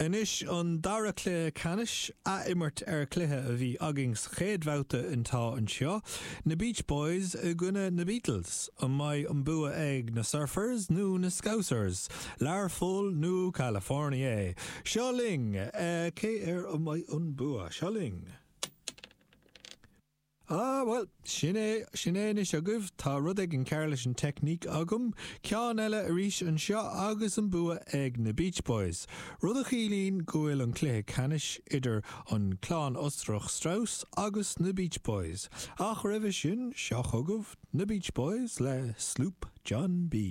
Anois an dara cluiche ceannais, ath-imirt ar chluiche a bhí againn sa chéad bhabhta atá anseo, na Beach Boys i gcoinne na Beatles. An mbeidh an bua ag na Surfers nó na Scousers? Learpholl nó California? Seo linn! Cé air a mbeidh an bua? Seo linn! Ah, bhuel, sin é, sin é anois agaibh, tá rud éigin cearr leis an teicníc agam. Ceann eile arís anseo agus an bua ag na Beach Boys. Rud a chiallaíonn go bhfuil an cluiche ceannais idir an clann Ostrach Strauss agus na Beach Boys. Ach roimhe sin, seo chugaibh na Beach Boys le Sloop John B.